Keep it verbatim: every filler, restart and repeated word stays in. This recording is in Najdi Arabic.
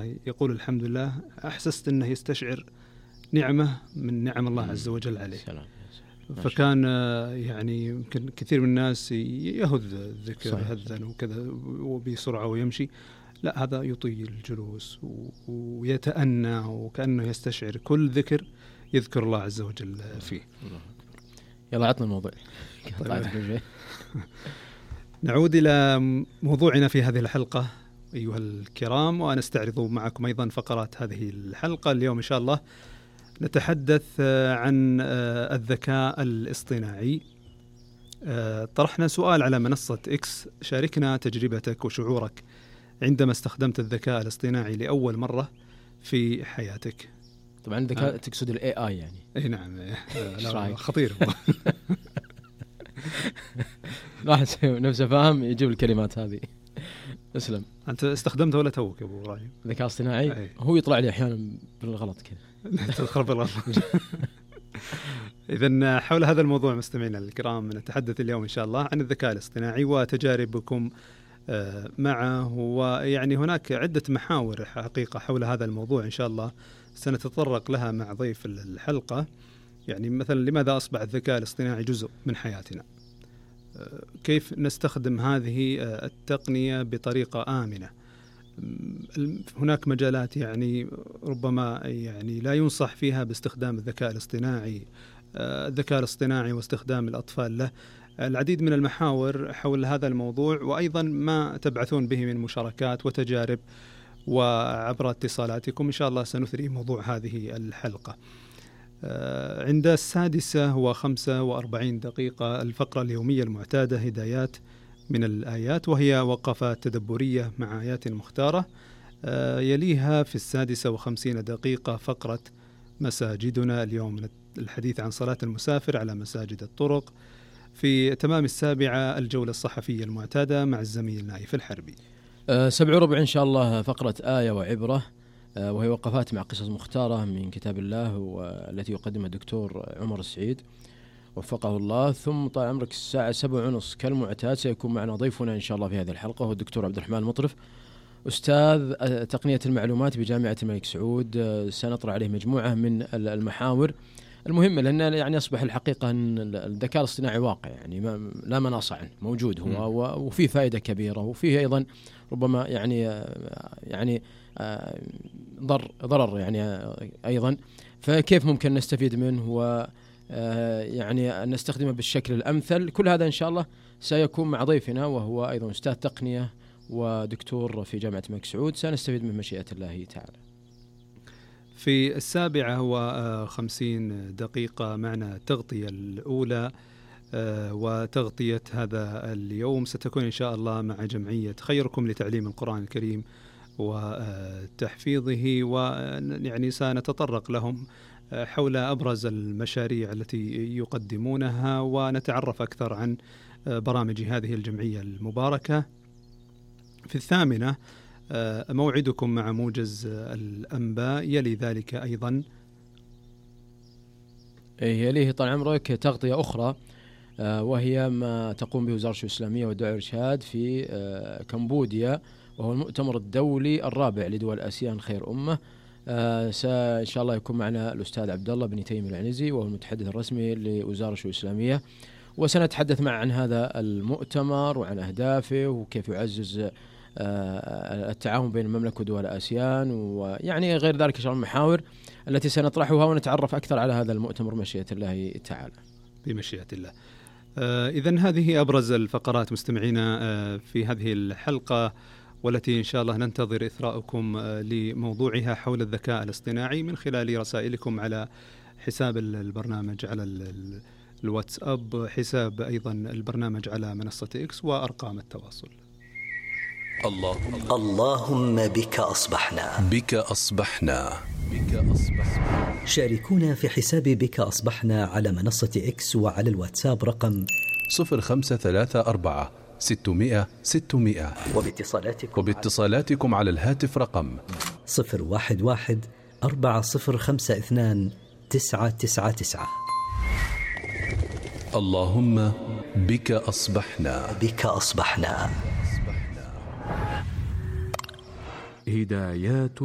يقول الحمد لله، أحسست أنه يستشعر نعمة من نعم الله عز وجل عليه. سلام. فكان يعني يمكن كثير من الناس يهذ الذكر هذا وكذا وبسرعة ويمشي، لا، هذا يطيل الجلوس ويتأنى وكأنه يستشعر كل ذكر يذكر الله عز وجل فيه. يلا عطنا الموضوع. طيب. نعود إلى موضوعنا في هذه الحلقة أيها الكرام، ونستعرض معكم أيضا فقرات هذه الحلقة. اليوم إن شاء الله نتحدث عن الذكاء الاصطناعي. طرحنا سؤال على منصة إكس: شاركنا تجربتك وشعورك عندما استخدمت الذكاء الاصطناعي لأول مرة في حياتك. طبعا الذكاء آه. تقصد ال إيه آي يعني؟ أي نعم. لا خطير. واحد نفسه فاهم يجيب الكلمات هذه. اسلم. أنت استخدمته ولا توك يا أبو إبراهيم؟ الذكاء الاصطناعي هو يطلع لي أحيانا بالغلط كذا. تدخل بالغلط. إذن حول هذا الموضوع مستمعينا الكرام نتحدث اليوم إن شاء الله عن الذكاء الاصطناعي وتجاربكم معه. ويعني هناك عدة محاور حقيقة حول هذا الموضوع إن شاء الله سنتطرق لها مع ضيف الحلقة. يعني مثلا لماذا أصبح الذكاء الاصطناعي جزء من حياتنا؟ كيف نستخدم هذه التقنية بطريقة آمنة؟ هناك مجالات يعني ربما يعني لا ينصح فيها باستخدام الذكاء الاصطناعي، الذكاء الاصطناعي واستخدام الأطفال له. العديد من المحاور حول هذا الموضوع، وأيضا ما تبعثون به من مشاركات وتجارب وعبر اتصالاتكم إن شاء الله سنثري موضوع هذه الحلقة. عند السادسة وخمسة وأربعين دقيقة الفقرة اليومية المعتادة هدايات من الآيات، وهي وقفات تدبرية مع آيات مختارة. يليها في السادسة وخمسين دقيقة فقرة مساجدنا، اليوم الحديث عن صلاة المسافر على مساجد الطرق. في تمام السابعة الجولة الصحفية المعتادة مع الزميل نايف الحربي. أه سبع وربع إن شاء الله فقرة آية وعبرة، أه وهي وقفات مع قصص مختارة من كتاب الله والتي يقدمها الدكتور عمر السعيد وفقه الله. ثم طال عمرك الساعة سبع ونص كالمعتاد سيكون معنا ضيفنا إن شاء الله في هذه الحلقة هو الدكتور عبد الرحمن المطرف، أستاذ تقنية المعلومات بجامعة الملك سعود. سنطرح عليه مجموعة من المحاور المهمة، لأن يعني أصبح الحقيقة أن الذكاء الاصطناعي واقع، يعني ما لا مناص عنه، موجود هو وفيه فائدة كبيرة، وفيه أيضا ربما يعني يعني ضر ضرر يعني أيضا. فكيف ممكن نستفيد منه و يعني نستخدمه بالشكل الأمثل؟ كل هذا إن شاء الله سيكون مع ضيفنا وهو أيضا أستاذ تقنية ودكتور في جامعة الملك سعود، سنستفيد من مشيئة الله تعالى. في السابعة وخمسين دقيقة معنا التغطية الأولى، وتغطية هذا اليوم ستكون إن شاء الله مع جمعية خيركم لتعليم القرآن الكريم وتحفيظه، ويعني سنتطرق لهم حول أبرز المشاريع التي يقدمونها ونتعرف أكثر عن برامج هذه الجمعية المباركة. في الثامنة موعدكم مع موجز الأنباء، يلي ذلك أيضا يليه طال عمرك تغطية أخرى وهي ما تقوم به وزارة الشؤون الإسلامية والدعوة والإرشاد في كمبوديا، وهو المؤتمر الدولي الرابع لدول آسيان خير أمة. آه إن شاء الله يكون معنا الأستاذ عبد الله بن تيم العنزي وهو المتحدث الرسمي لوزارة الشؤون الإسلامية، وسنتحدث معه عن هذا المؤتمر وعن أهدافه وكيف يعزز آه التعاون بين المملكة ودول آسيان، ويعني غير ذلك إن شاء الله المحاور التي سنطرحها ونتعرف أكثر على هذا المؤتمر بمشيئة الله تعالى. بمشيئة الله. آه إذن هذه أبرز الفقرات مستمعينا آه في هذه الحلقة، والتي إن شاء الله ننتظر إثراءكم لموضوعها حول الذكاء الاصطناعي من خلال رسائلكم على حساب البرنامج على الواتساب، حساب أيضا البرنامج على منصة إكس، وأرقام التواصل. اللهم اللهم بك أصبحنا بك أصبحنا بك أصبحنا شاركونا في حساب بك أصبحنا على منصة إكس وعلى الواتساب رقم صفر خمسة ثلاثة أربعة ستمائة ستمائة، وباتصالاتكم, وباتصالاتكم على الهاتف رقم صفر واحد واحد أربعة صفر خمسة اثنان تسعة تسعة تسعة. اللهم بك أصبحنا بك أصبحنا. هدايات